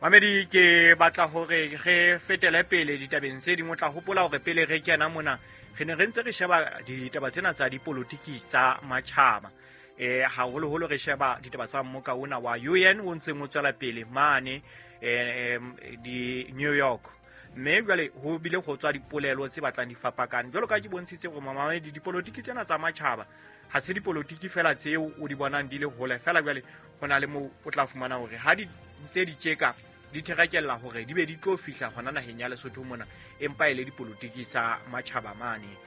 Mamedi, ke batla hore re fetele pele ditabeng tse ding. O tla hopola hore pele re kena mona re ne re ntse re sheba ditaba tsena tsa dipolotiki tsa matjhaba, haholoholo re sheba ditaba tsa mmoka ona wa UN o ntseng o tswela pele mane di New York. Mme jwale ho bile go tswa dipolelo tse batlang di fapakane. Jwalo ka ke bontshitse gore mamamedi, dipolotiki tsena tsa matjhaba ha se dipolotiki fela tseo o di bonang di le hole fela. Jwale ho na le moo o tla fumana hore ha di ntse di tjeka di therekella hore di be di tlo fihla hona naheng ya Lesotho mona, empa e le dipolotiki tsa matjhaba mane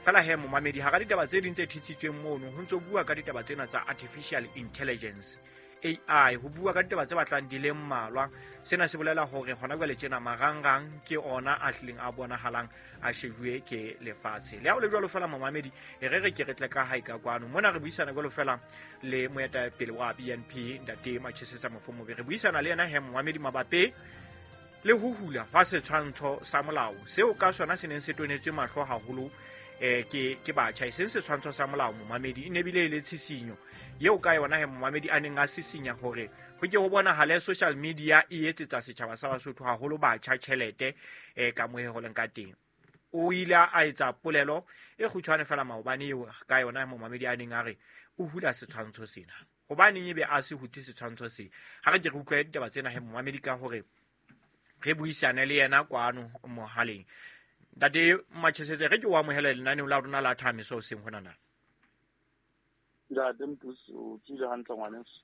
fela. He momamedi, hara ditaba tse ding tse thitsitsweng mono, ho ntso bua ka ditaba tsena tsa artificial intelligence, AI, ho bua ka ditaba tse batlang di le mmalwa. Sena se bolela hore hona jwale tjena marangrang ke ona a hlileng a bonahalang a shejuwe ke lefatshe. Le ha o le jwalo fela momamedi, e re re ke re tle ka hae ka kwano mona re buisana jwalo fela le moetapele wa BNP, ntate Machesetsa Mofomobe. Re buisana le yena he momamedi mabapi le ho hula hwa setshwantsho sa molao seo ka sona se neng se tonetswe mahlo haholo ke batjha. E seng setshwantsho sa molao momamedi, e ne bile e le tshisinyo eo ka yona he momamedi a neng a sisinya hore ho ke ho bonahale social media e etsetsa setjhaba sa Basotho, haholo batjha, tjhelete ka moo ho leng ka teng. O ile a etsa polelo e kgutshwane fela maobane eo ka yona momamedi a neng a re o hula setshwantsho sena. Hobaneng ebe a se hutse setshwantsho se? Ha re ke re utlwe ditaba tsena he momamedi, ka hore re buisane le yena kwano mohaleng. Ntate Machesetse, re ke o amohele lenaneo la rona la Thamiso hoseng hona na. Ntate Mpusi, o tswile hantle ngwaneso?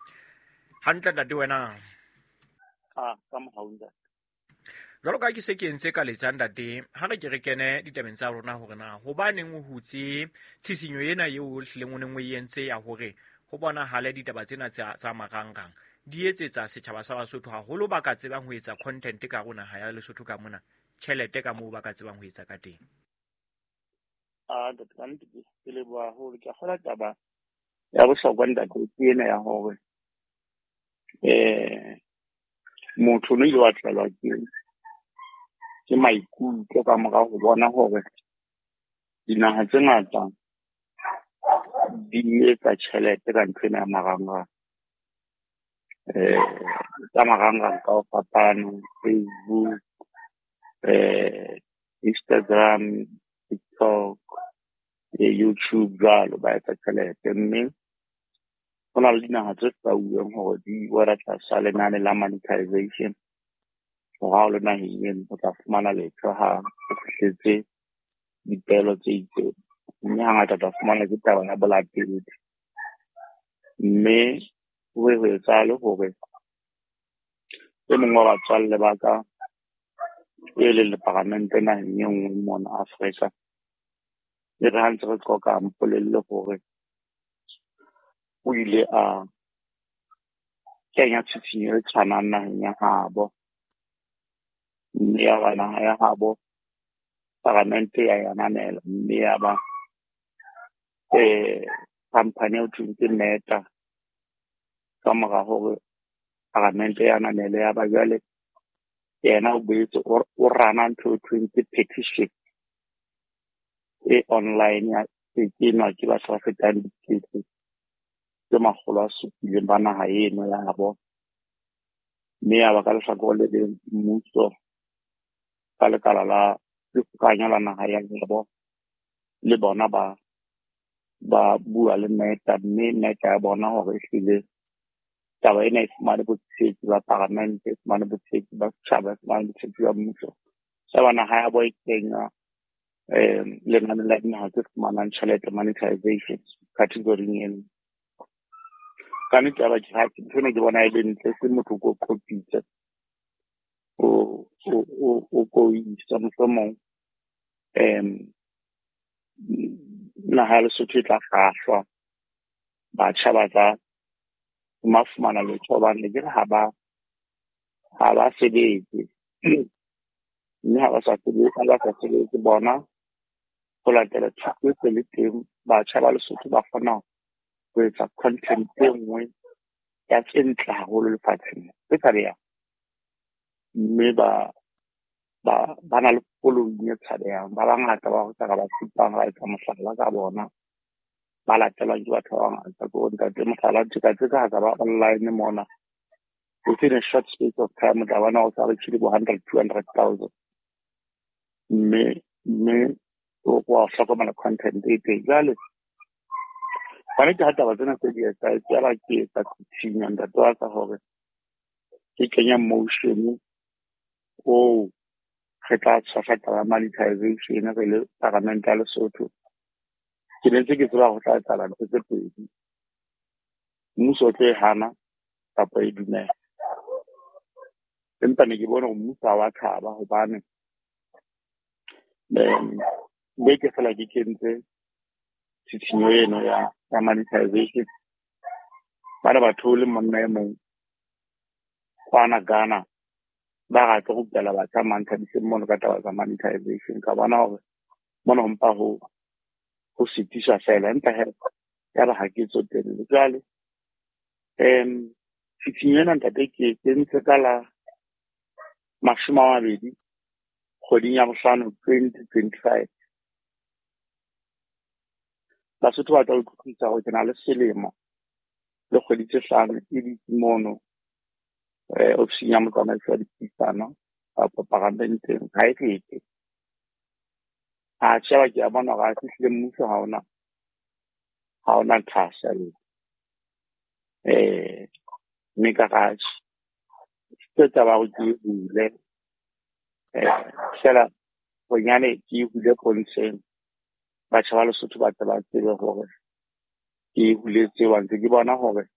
Hantle ntate, wena? Ah, ka mohau ntate. Jwalo ka ke se ke entse ka letsa ntate, ha re ke re kene ditabeng tsa rona hore na hobaneng o hutse tshisinyo ena eo o hlileng o neng o e entse ya hore ho bonahale ditaba tsena tsa marangrang di etsetsa setjhaba sa Basotho, haholo ba ka tsebang ho etsa content ka rona naha ya Lesotho ka mona, tjhelete ka moo ba ka tsebang ho etsa ka teng. Ah, ntate, ka nnete ke leboha haholo. Ke a kgolwa taba ya bohlokwa ntate ke ena ya hore motho o no ile wa tlelwa ke maikutlo ka mora ho bona hore dinaha tse ngata di etsa tjhelete ka ntho ena ya marangrang. Tsa marangrang ka ho fapana, Facebook, Instagram, TikTok, le YouTube jwalo, ba etsa tjhelete. Mme ho na le dinaha tse hlwauweng hore di wela tlasa lenane la monetization, hore ha o le naheng eno o tla fumana letho ha o fihletse dipeelo tse itseng. Mme hangata o tla fumana ke taba ya bolatedi. Mme ho be ho etsahale hore e mong wa batswalle ba ka e leng leparamente naheng e nngwe mona Afrika, e re ha ntse re qoqa a mpolelle hore o ile a kenya tshitshinyo e tshwanang naheng ya habo, mme ya ba naha ya habo paramente ya e ananela, mme ya ba company eo thweng ke Meta, ka mora hore paramente ya ananele, ya ba jwale yena o boetse o rana ntho e thweng ke petition e online ya e kenwa ke batho ba fetang 700,000 ba naha eno ya habo. Mme ya ba ka lehlakore le leng mmuso ka lekala la dikgokahanyo la naha ya habo le bona ba bua le Meta, mme Meta ya bona hore ehlile taba ena e fumane botshehetsi ba paramente, e fumane botshehetsi ba setjhaba, e fumane botshehetsi ba mmuso. Ya ba naha ya bo e kenywa lenane la dinaha tse fumanang tjhelete, monetization category eno. Ka nnete ya ba ke ha ntho ena ke bona e le ntle, se motho o ko qopitse o ko isa mohlomong naha ya Lesotho e tla kgahlwa, batjha ba tla fumana letho, hobane ke re ha ba sebetse, mme ha ba sa sebetse, ha ba sa sebetse bona ho latela thuto e se le teng, batjha ba Lesotho ba kgona ho etsa content e nngwe ya tse ntle haholo lefatsheng tse tshabehang, mme ba na le following e tshabehang. Ba bangata ba re ka ba supang, ra etsa mohlala ka bona, ba latelwang ke batho ba bangata. Ke hore ntate mohlala tjeka tse ka ba online mona Within a short space of time o tla bona o sa reachile bo 100 200,000, mme o wa hlokomela content e teng. Jwale ba nnete, ha taba tsena tse di etsa e tswela, ke etsa tshinya, ntate wa ka, hore ke kenya motion oo re tla tshwasa taba ya monetization re le paramente ya Lesotho. Ke ne ntse ke tseba ho tla etsahala ntho tse pedi: mmuso o tlo e hana kapa e dumela. Empa ne ke bone hore mmuso ha wa thaba, hobane beke fela ke kentse tshitshinyo eno ya monetization, ba ne ba theole monna e mong kwana Ghana, ba re tlo rupela batjha Manthabiseng mono ka taba tsa monetization. Ka bona hore mona ho mpa ho sitiswa fela, empa he ya ba ha ke tsotelle. Jwale tshitshinyo ena, ntate, ke kentse ka la 20 kgweding ya bohlano 2025. Basotho ba tla utlwisisa hore ke na le selemo le kgwedi tse 5 e ditse mono ofising ya motsamaisi wa dipuisano kapa paramenteng, ha e fete. A sheba, ke a bona hore a fihlile mmuso ha ona thahasello, mme ka ratjhe ke taba ya hore ke e hule fela bonyane, ke e hule pontsheng, batjha ba Lesotho ba tle ba tsebe hore ke e huletse wa ntse ke bona hore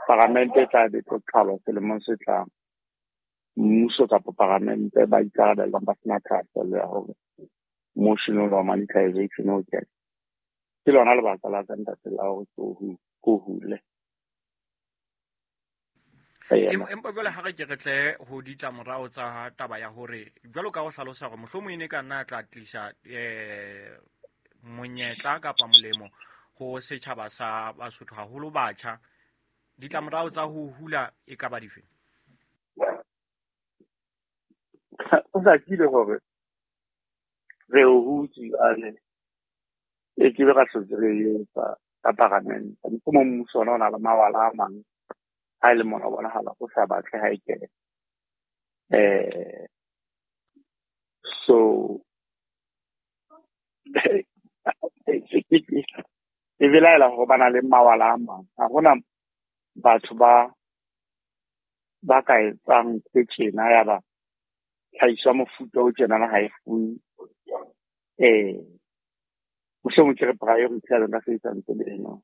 paramente e tla be tlo qhalwa selemong se tlang, mmuso kapa paramente ba ikarabellang ba sena thahasello ya hore motion wa monetization o kene. Ke lona lebaka la ka, ntate, la hore ke o hule. Empa jwale ha re ke re tle ho ditlamorao tsa taba ya hore, jwalo ka ho hlalosa hore mohlomong e ne ka nna tla tlisa monyetla kapa molemo ho setjhaba sa Basotho, haholo batjha, ditlamorao tsa ho hula e ka ba dife? O hlakile hore re o hutse ane e ke be ra hlotse re etsa ka paramente. Mohlomong mmuso ona o na le mawala a mang, ha e le mona o bonahala o sa batle ha e kene. So ke belaela hore ba na le mawala a mang. Ha hona batho ba ka etsang ntho tjena ya ba tlhahiso ya mofuta o tjenana ha e fuwe mohlomong ke re priority ya ka sebedisa ntse eno.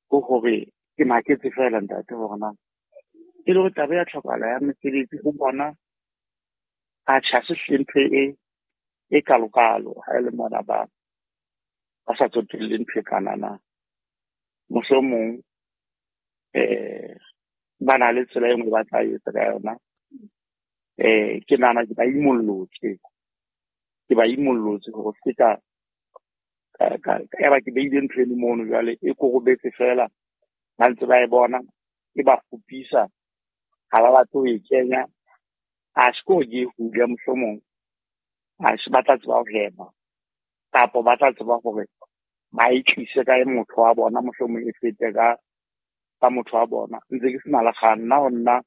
Ke hore ke maketse fela, ntate, hore na e le hore taba ya tlhokahala ya mesebetsi ho bona atjhe, ha se hlile ntho e kalokalo ha e le mona ba sa tsotelle ntho e kanana. Mohlomong ba na le tsela e nngwe ba tla etsa ka yona. Ke nahana ke ba imollotse hore se ka ya ba ke beile ntho eno mono, jwale e korobetse fela, ba ntse ba e bona, e ba kgopisa, ha ba batle ho e kenya. A se ke hore ke e hule, mohlomong a se ba tla tseba ho hema kapa ba tla tseba hore ba e tlise ka motho wa bona, mohlomong e fete ka motho wa bona. Ntse ke sena le kgang nna. Ho nna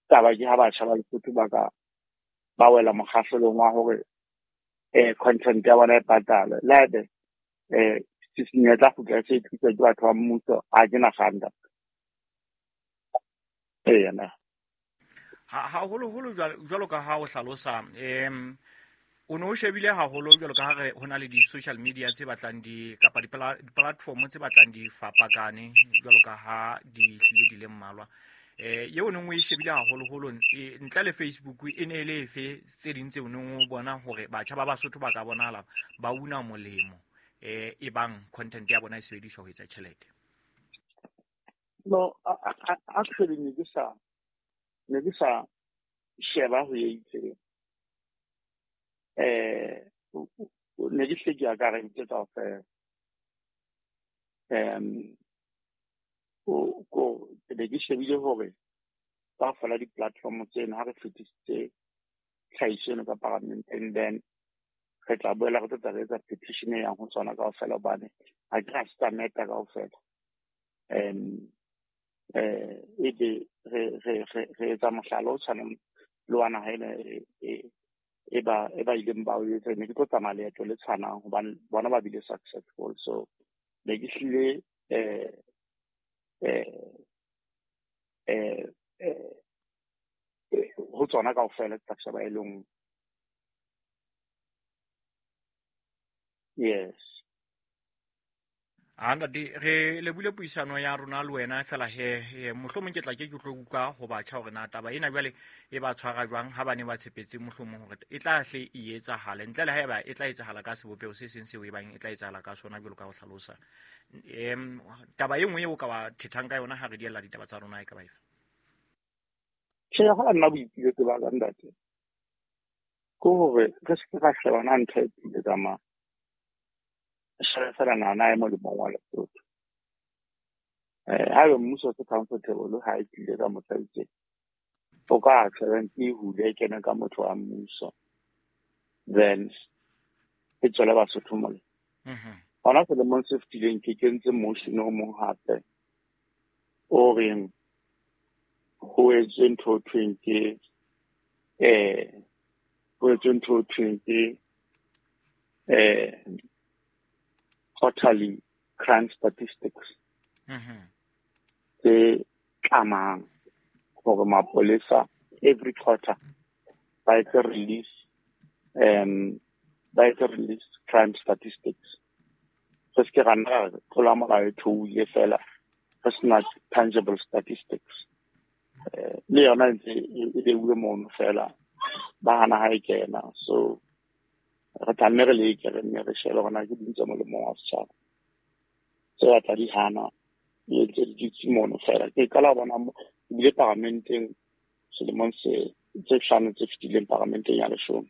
taba ke ha batjha ba Lesotho ba ka ba wela mokgahlelong wa hore content ya bona e patalwe, le haebe tshisinyo e tla kgutla e se e tliswa ke batho ba mmuso, ha ke na kgang, ntate. Eya na. Haholoholo jwalo ka ha o hlalosa, o ne o shebile haholo jwalo ka ha re ho na le di-social media tse batlang di kapa di-platform tse batlang di fapakane, jwalo ka ha di hlile di le mmalwa, eo neng o e shebile haholoholo ntle le Facebook e ne e le efe? Tse ding tse o neng o bona hore batjha ba Basotho ba ka bonahala ba una molemo e bang content ya bona e sebediswa ho etsa tjhelete? No, actually ne ke sa sheba ho e itseng. Ne ke hle ke akareditse kaofela. Ko ke be ke shebile hore kaofela di-platform tseno, ha re fetisitse tlhahiso eno ka paramenteng, then re tla boela re tlo tla re etsa petition e yang ho tsona kaofela, hobane ha ke ra se tsa meta kaofela. Ebe re etsa mohlala o tshwanang le wa naha ena e ba ileng ba o etsa. Ne ke tlo tsamaya leeto le tshwanang hobane bona ba bile successful. So ne ke hlile ho tsona kaofela ke tla sheba e le nngwe. Yes. A ntate, re lebile puisano ya rona le wena fela he mohlomong ke tla ke tlo utlwa ho batjha hore na taba ena jwale e ba tshwara jwang ha ba ne ba tshepetse mohlomong hore e tla hle e etsahale ntle le haeba e tla etsahala ka sebopeho se seng seo e bang e tla etsahala ka sona jwalo ka ho hlalosa. Taba e nngwe eo ka ba thethang ka yona ha re diella ditaba tsa rona e ka ba efe? Tjhe, ha nna boipiletso ba ka ntate ke hore re se ke ra shebana ntho e pele ka mang. Shebe fela nana e molemong wa Lesotho. Haeba mmuso se comfortable ha e tlile ka motho a itseng, o ka tjhebeng e hule e kene ka motho wa mmuso, then e tswele Basotho molemo. Hona selemong se fetileng ke kentse motion o mong hape o reng ho etswe ntho ho thweng ke ho etswe ntho ho thweng ke quarterly crime statistics tse tlamang hore mapolesa every quarter ba etse release crime statistics. Re se ke ra nna ra tlola molao e theohile fela re sena tangible statistics. Le yona ntse e beuwe mono fela ba hana ha e kena. So re tla nne re leke re nne re shebe hore na ke ding tse molemong wa setjhaba tse batla di hana di ntse di dutse mono fela. Ke qala ho bona ebile paramenteng selemong se tse hlano tse fetileng paramenteng ya leshome.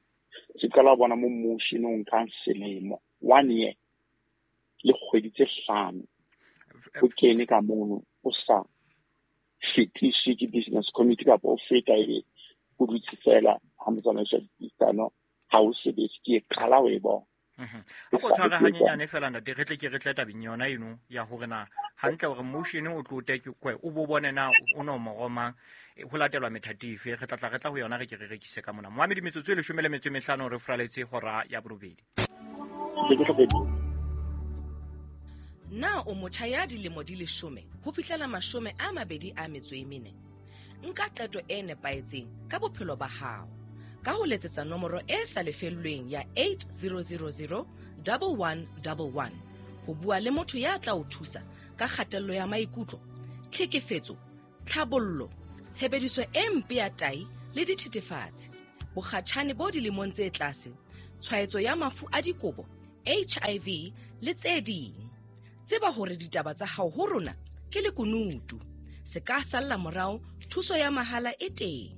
Ke qala ho bona mo motion o nkang selemo 1 year le kgwedi tse hlano o kene ka mono o sa fetise ke business committee kapa o feta ebe o dutse fela ha motsamaiso wa dipuisano ha o sebetse. Ke qala ho e bona. A ko tshware hanyenyane fela ntate, re tle ke re tle tabeng yona eno ya hore na hantle hore motion o tlo te ke o bo bone na o no moromang ho latelwa methati efe. Re tla re tla ho yona re ke re rekise ka mona. Moamedi metsotso e 15 re fraletse hora ya borobedi. Na o motjha ya dilemo di 10 ho fihlela 24? Nka qeto e nepahetseng ka bophelo ba hao ka ho letsetsa nomoro e sa lefellweng ya 8000 1111 ho bua le motho ya tla o thusa ka kgatello ya maikutlo, tlhekefetso, tlhabollo, tshebediso e mpe ya tai le dithethefatsi, bokgatjhane bo dilemong tse tlase, tshwaetso ya mafu a dikobo, HIV le tse ding. Tseba hore ditaba tsa hao ho rona ke lekunutu. Se ka salla morao, thuso ya mahala e teng.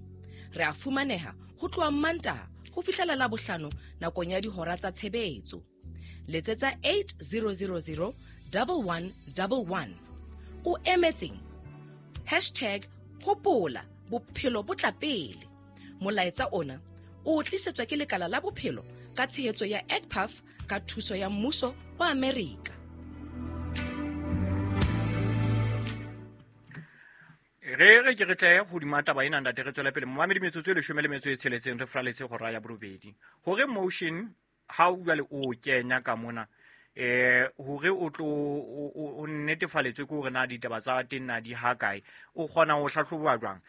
Re a fumaneha ho tloha Mantaha ho fihlela Labohlano nakong ya dihora tsa tshebetso. Letsetsa 8000 1111. O emetseng? Hashtag hopola bophelo bo tla pele. Molaetsa ona o tlisetswa ke lekala la bophelo ka tshehetso ya ECPAF ka thuso ya mmuso wa Amerika. Re ke re tle hodima taba ena ntate, re tswele pele. Momamedi metsotso e 16 re fraletse hora ya borobedi. Hore motion ha o jwale o kenya ka mona hore o tlo o netefaletswe ke hore na ditaba tsa teng na di ha kae, o kgona ho hlahloba jwang?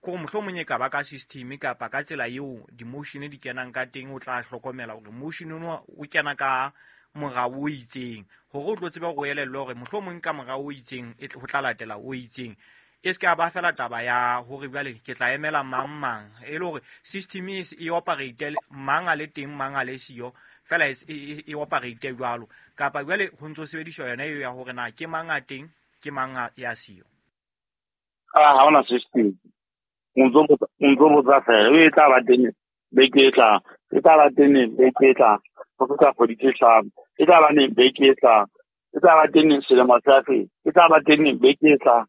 Ko mohlomong e ka ba ka system kapa ka tsela eo di-motion di kenang ka teng, o tla hlokomela hore motion ono o kena ka morao o itseng, hore o tlo tsebe ho elellwa hore mohlomong ka morao o itseng e ho tla latela o itseng. E se ka ba fela taba ya hore jwale ke tla emela mang mang, e le hore system e operate mang a le teng mang a le siyo fela e operate jwalo, kapa jwale ho ntso sebediswa yona eo ya hore na ke mang a teng ke mang ya siyo. Ha hona system. O ntso botsa fela e tla ba teng beke e tlang, e tla ba teng beke e tlang, ho fihla kgwedi tse hlano, e tla ba neng beke e tlang, e tla ba teng selemo sa fela, e tla ba teng beke e tlang.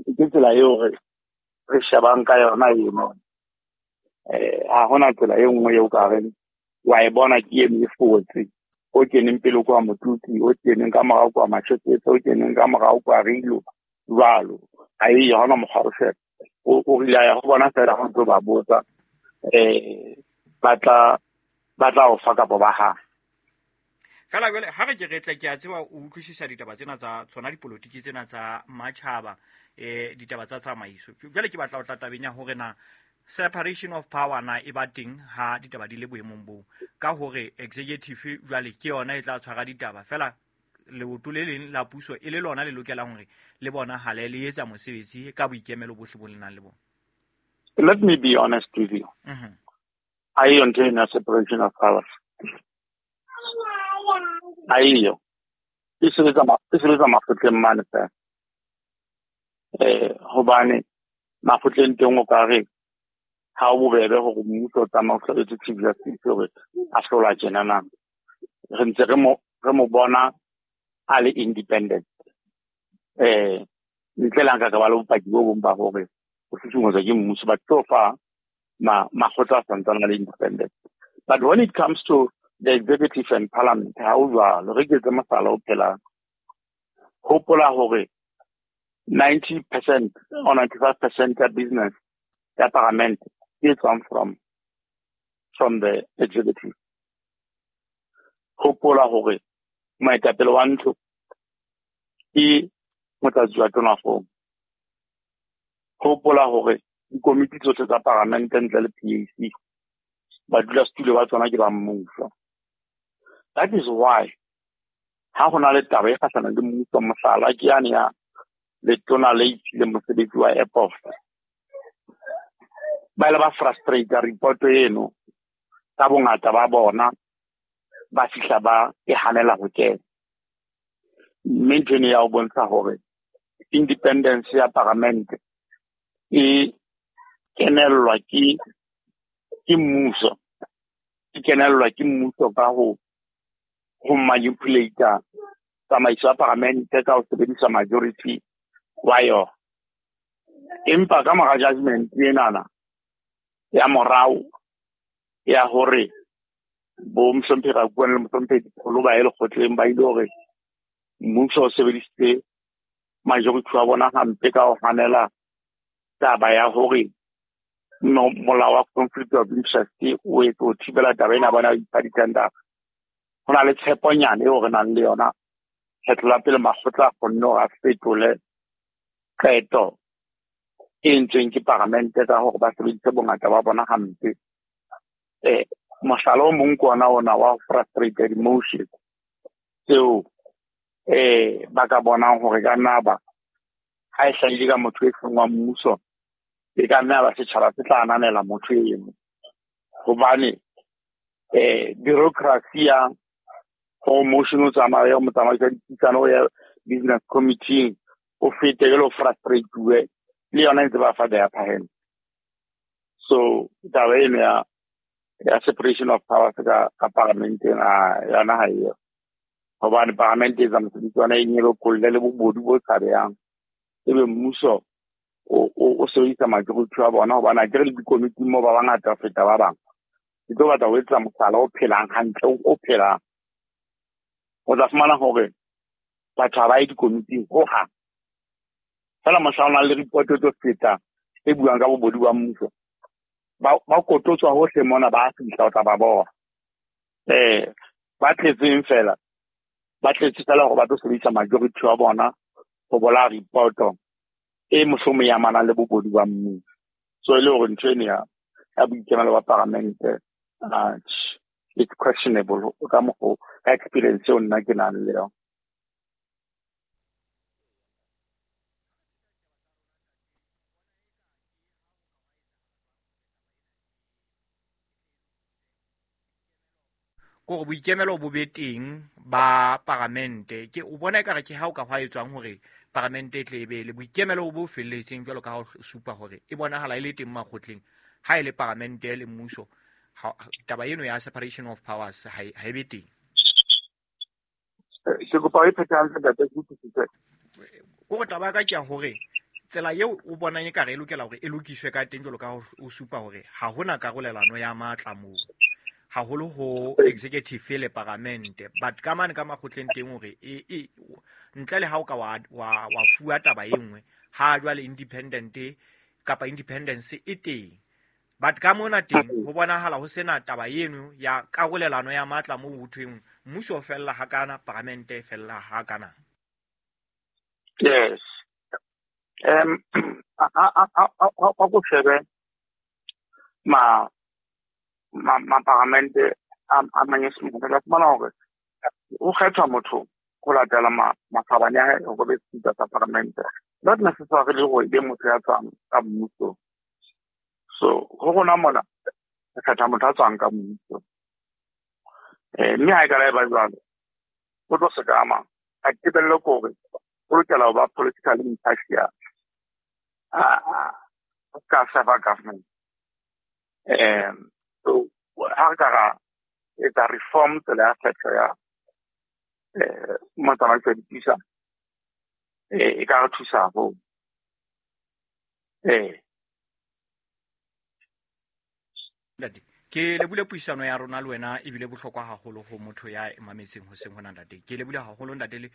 Ke tsela eo re shebang ka yona eno. Ha hona tsela e nngwe eo ka reng wa e bona ke eno e fotse, o keneng pele kwa Motuti, o keneng ka morao kwa Mashotetse, o keneng ka morao kwa Rilo jwalo. Ha e hona mokgwa o sheba. O rile ya go bona fela go tlo ba botsa ba tla o fa kapa ba ha. Fela jwale ha re ke re tle ke a tseba o utlwisisa ditaba tsena tsa tsona dipolotiki tsena tsa matjhaba, ditaba tsa tsamaiso. Jwale ke batla ho tla tabeng ya hore na separation of power na e ba teng ha ditaba di le boemong boo, ka hore executive jwale ke yona e tla tshwara ditaba fela leoto le leng la puso e le lona le lokelang hore le bonahale le etsa mosebetsi ka boikemelo bohle bo le nang le bona. Let me be honest with you. Ha eyo ntho ena separation of powers. Ha eyo. E sebetsa makgotleng mane fela. Hobane makgotleng teng o ka re ha o bobebe hore mmuso o tsamaya o hlabetse Chief Justice hore a hlola tjena na. Re ntse re mo bona a le independent. Ntle le nka ka ba le bopaki bo bong ba hore o susumetswa ke mmuso, but so far makgotla a santsane a le independent. But when it comes to the executive and parliament, ha o jwalo. Re ke etse mohlala o phelang. Hopola hore 90% or 95% ya business ya parliament e tswang from the executive. Hopola hore moetapele wa ntlo ke motlatsi wa tonakgolo. Hopola hore dikomiti tsohle tsa paramente ntle le PAC badulasetulo ba tsona ke ba mmuso. That is why ha ho na le taba e kgahlanong le mmuso, mohlala ke yane ya letona le iphileng mosebetsi wa airport, ba ile ba frustrate report eno ka bongata ba bona, ba fihla ba e hanela ho kena. Mme ntho eno ya ho bontsha hore independence ya paramente e kenellwa ke mmuso, e kenellwa ke mmuso ka ho manipulate tsamaiso ya paramente ka ho sebedisa majority wa yona. Empa ka mora judgment enana ya morao ya hore bo mohlomphehi Rakuane le mohlomphehi Dipholo ba ye lekgotleng, ba ile hore mmuso o sebedisitse majority wa bona hampe ka ho hanela taba ya hore molao wa conflict of interest o etse ho thibela taba ena bona ipha di-tender. Ho na le tsheponyana eo re nang le yona kgetlo la pele makgotla a kgonne hore a fetole qeto e entsweng ke paramente ka hore ba sebedise bongata ba bona hampe. Mohlala o mong ke ona ona wa frustrated motion tseo ba ka bonang hore ka nna ba ha e hlahile ka motho e seng wa mmuso, e ka nna ba setjhaba se tla ananela motho eno, hobane bureaucracy ya ho motion o tsamaya o motsamaisi wa dipuisano ya business committee o fete jwale o frustrate-uwe le yona e ntse ba fa the upper hand. So taba eno ya separation of powers ka paramenteng yona ha eyo, hobane paramente e etsa mosebetsi wa yona e nyelokolle le bobodu bo tshabehang, ebe mmuso o sebedisa majority wa bona, hobane akere le dikomiting moo ba bangata ho feta ba bang. Ke tlo batla ho etsa mohlala o phelang hantle, o phelang. O tla fumana hore batho ha ba ye dikomiting hohang. Fela mohla o nang le report e tlo feta e buang ka bobodu ba mmuso, ba kototswa hohle mona, ba fihla o tla ba bona. Ba tletseng fela, ba tletse fela hore ba tlo sebedisa majority wa bona ho bolaya report e mohlomong e amanang le bobodu ba mmuso. So e le hore ntho eno ya boikemelo ba paramente it's questionable ka mokgo ka experience eo nna ke nang le yona. Kore boikemelo bo be teng ba paramente, ke o bona ekare ke ha o ka hwa etswang hore paramente e tle e be le boikemelo bo felletseng jwalo ka ha o supa hore e bonahala e le teng makgotleng. Ha e le paramente le mmuso, taba eno ya separation of powers ha e be teng. Ke kopa o e phethe hantle ntate, ke utlwisise. Kore taba ya ka ke ya hore tsela eo o bonang ekare e lokela hore e lokiswe ka teng jwalo ka ha o supa hore ha hona karolelano ya matla moo, haholo ho executive le paramente, but ka mane ka makgotleng teng hore e ntle le ha o ka wa fuwa taba e nngwe, Ha jwale independent kapa independence e teng, but ka mona teng ho bonahala ho sena taba eno ya karolelano ya matla moo ho thweng mmuso o fella hakana, paramente e fella hakana. Yes. A ko shebe ma ma ma paramente a Manyesemane, ka fumana hore o kgethwa motho ho latela makgabane a hae hore be speaker sa paramente, not necessarily hore e be motho ya tswang ka mmuso. So ho rona mona re kgetha motho a tswang ka mmuso, mme ha e ka la e ba jwalo, o tlo sekama a tebello ke hore o lokela ho ba politically impartial, a ka serve government. So ha re ka ra etsa reform tsela ya kgetho ya motsamaiso wa dipuisano, e ka re thusa haholo. Ntate, ke lebule puisano ya rona le wena ebile bohlokwa haholo ho motho ya mametseng hoseng hona, ntate. Ke lebule haholo, ntate, le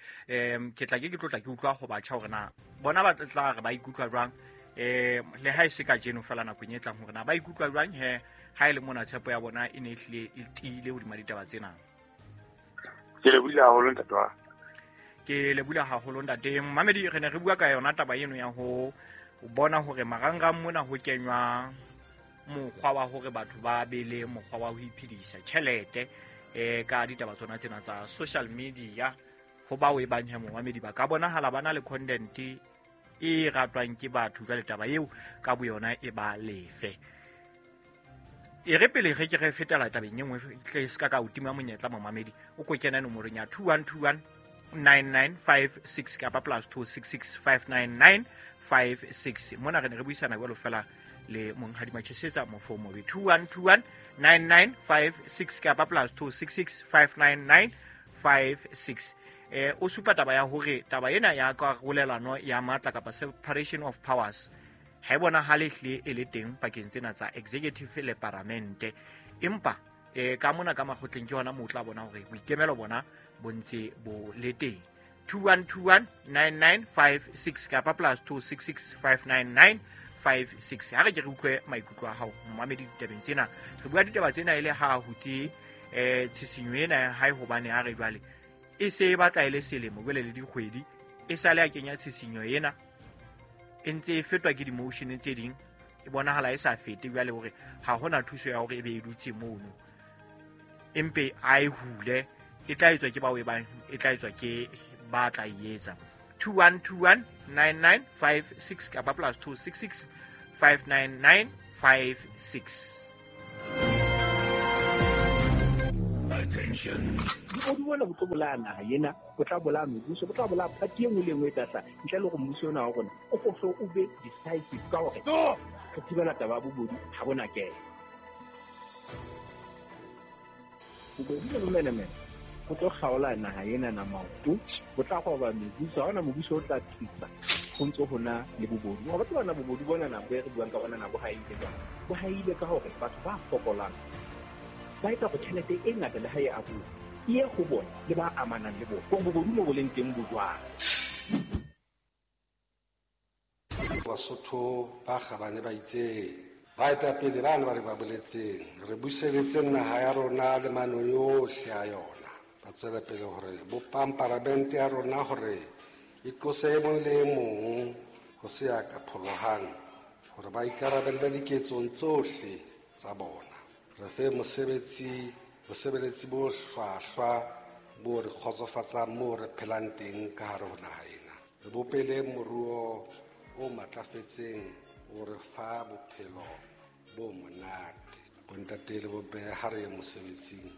ke tla ke tlotla ke utlwa ho batjha hore na bona ba tla re ba ikutlwa jwang, le ha e se kajeno fela nakong e tlang, hore na ba ikutlwa jwang he ha e le mona tshepo ya bona e ne e hlile e tiile hodima ditaba tsena. Ke lebule haholo, ntate wa. Ke lebule haholo, ntate. Mamedi, re ne re bua ka yona taba eno ya ho bona hore marangrang mona ho kenywa mokgwa wa hore batho ba be le mokgwa wa ho iphedisa tjhelete ka ditaba tsona tsena tsa social media. Ho bao e bang he momamedi ba ka bonahala ba na le content e ratwang ke batho, jwale taba eo ka boyona e ba lefe. E re pele re ke re fetela tabeng e nngwe, tle se ka ka o tima monyetla, momamedi, o ko kena nomorong ya 2121 9956 kapa +266 599 56. Mona re ne re buisana jwalo fela le monghadi Machesetsa Mofomobe. 2121 9956 kapa +266 599 56. O supa taba ya hore taba ena ya karolelano ya matla kapa separation of powers ha e bonahale hlile e le teng pakeng tsena tsa executive le paramente, empa ka mona ka makgotleng ke hona moo o tla bona hore boikemelo bona bo ntse bo le teng. 2121 9956 kapa +266 599 56. Ha re ke re utlwe maikutlo a hao, momamedi, ditabeng tsena. Re bua ditaba tsena e le ha hutse tshisinyo ena ya hae, hobane ha re jwale e se e batla e le selemo jwale le dikgwedi e sale a kenya tshisinyo ena, e ntse e fetwa ke di-motion tse ding, e bonahala e sa fete jwale hore ha hona thuso ya hore e be e dutse mono, empe a e hule, e tla etswa ke bao e bang e tla etswa ke ba tla e etsa. 2121 9956 kapa +266 599 56. Attention. Bobodu bona bo tlo bolaya naha ena, bo tla bolaya mebuso, bo tla bolaya party e nngwe le e nngwe e tla hlaha, ntle le hore mmuso ona wa rona o ko o be decisive ka hore re thibela taba ya bobodu ha bona kena. Bobodu le bomenemene go tlo kgaola naha ena na maoto, bo tla roba mebuso, ha hona mobuso o tla thusa go ntse ho na le bobodu. Wa batho bana bobodu bona na bo e re buang ka bona na bo haile jwang? Bo haile ka hore batho ba fokolang ba etsa go tjhelete e ngata le ha e abuwa e ye go bona le ba amanang le bona, gore bobodu mo bo leng teng bo jwang. Basotho ba kgabane ba itseng, baetapele bana ba re ba boletseng, re buseletseng naha ya rona le manong yohle a yona. Ba tswela pele hore bopang paramente ya rona hore e qose e mong le e mong ho se ya ka pholohang, hore ba ikarabelle diketsong tsohle tsa bona. Re fe mosebetsi, bosebeletsi bo hlwahlwa bo re kgotsofatsang moo re phelang teng ka hare ho naha ena. Re bopele moruo o matlafetseng o re fa bophelo bo monate. Bontate le bomme, ha re ye mosebetsing.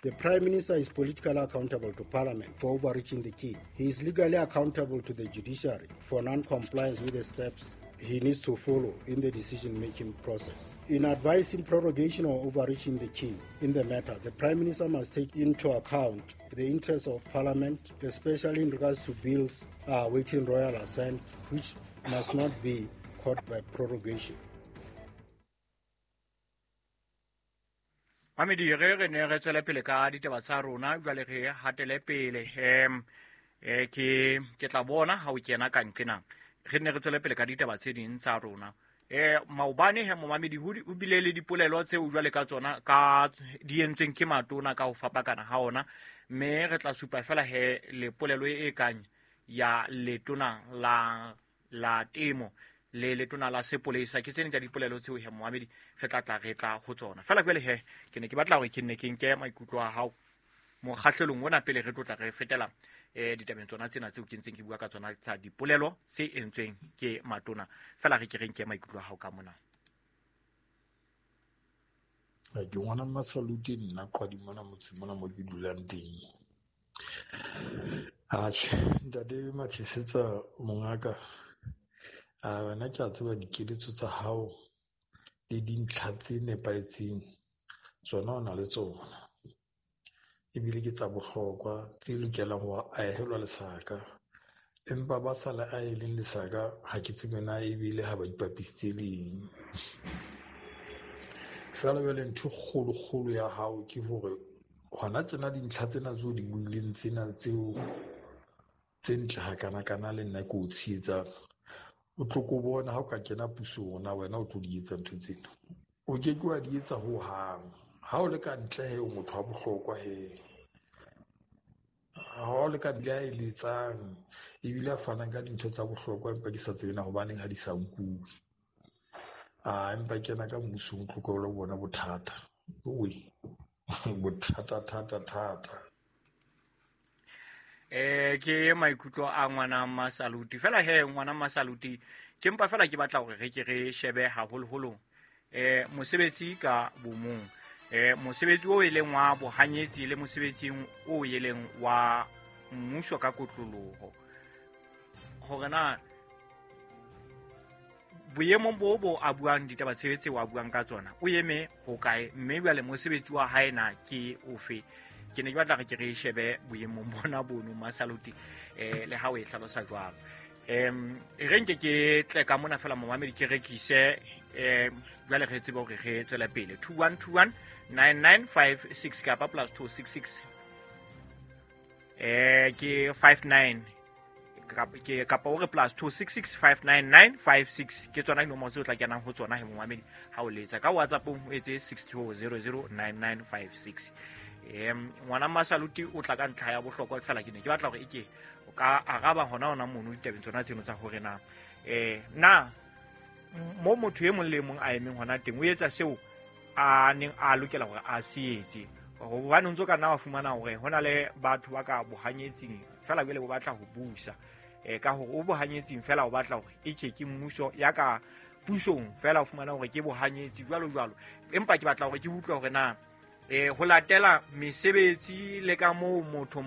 The Prime Minister is politically accountable to Parliament for overreaching the king. He is legally accountable to the judiciary for non-compliance with the steps he needs to follow in the decision-making process. In advising prorogation or overreaching the king in the matter, the Prime Minister must take into account the interests of Parliament, especially in regards to bills awaiting royal assent, which must not be caught by prorogation. Mamedi, re ne re tswele pele ka ditaba tsa rona, jwale re hatele pele. Ke tla bona ha o kena ka nqena. Re ne re tswele pele ka ditaba tse ding tsa rona. Maobane he momamedi ho bile le dipolelo tseo jwale ka tsona ka di entsweng ke matona ka ho fapakana ha ona, mme re tla supa fela he le polelo e kang ya letona la temo le letona la sepolesa. Ke tsene tsa dipolelo tseo he momamedi re tla re tla ho tsona. Fela jwale he ke ne ke batla hore ke nne ke nke maikutlo a hao mokgahlelong ona pele re tlotla re fetela ditabeng tsona tsena tseo ke ntseng ke bua ka tsona tsa dipolelo tse entsweng ke matona. Fela re ke re nke maikutlo a hao ka mona. Ke ngwana Masaluti nna Qwadi mona motseng mona mo ke dulang teng. Atjhe, ntate Mathisetsa mongaka, a wena ke a tseba dikeletso tsa hao le dintlha tse nepahetseng tsona o na le tsona, ebile ke tsa bohlokwa tse lokelang ho ahelwa lesaka, empa ba sa le aheleng lesaka ha ke tsebe na ebile ha ba ipapisitse leng. Fela jwale ntho e kgolo-kgolo ya hao ke hore hona tsena dintlha tsena tseo di buileng tsena tseo tse ntle hakana-kana le nna ke o tshehetsang, o tlo ko bona ha o ka kena pusong na wena o tlo di etsa ntho tsena. O ke ke wa di etsa hohang. Ha o le ka ntle he o motho wa bohlokwa he. Ha o le ka ntle a eletsang ebile a fanang ka dintho tsa bohlokwa, empa ke sa tsebe na hobaneng ha di sa nkuwe. A empa kena ka mmusong o tlo ko lo bona bothata. Oi, bothata thata thata. Ke maikutlo a ngwana Masaluti. Fela he ngwana Masaluti ke mpa fela ke batla hore re ke re shebe haholoholo mosebetsi ka bomong. Mosebetsi o e leng wa bohanyetsi le mosebetsi o e leng wa mmuso ka kotloloho. Hore na boemong bo a buang ditaba tse wa buang ka tsona o eme hokae, mme jwale mosebetsi wa hae na ke ofe? Ke ne ke batla re ke re shebe boemong bona bono Masaluti, le ha o e hlalosa jwalo. Re nke ke tle ka mona fela momamedi ke rekise, jwale re tsebe hore re tswele pele. 2121 9956 kapa +266 ke 59 ke kapa o re +266 59956 ke tsona dinomoro tseo o tla kenang ho tsona he momamedi ha o letsa ka WhatsApp o etse 62009956. Ngwana Masaluti o tla ka ntlha ya bohlokwa fela ke ne ke batla hore eke o ka araba hona mono ditabeng tsona tseno tsa hore na na mo motho e mong le mong a emeng hona teng o etsa seo a neng a lokela hore a se etse. Hobane o ntso ka nna wa fumana hore hona le batho ba ka bohanyetsing fela jwale bo batla ho busa, ka hore o bohanyetsing fela o batla hore e ke mmuso ya ka pusong fela o fumana hore ke bohanyetsi jwalo jwalo. Empa ke batla hore ke utlwe hore na ho latela mesebetsi le ka moo motho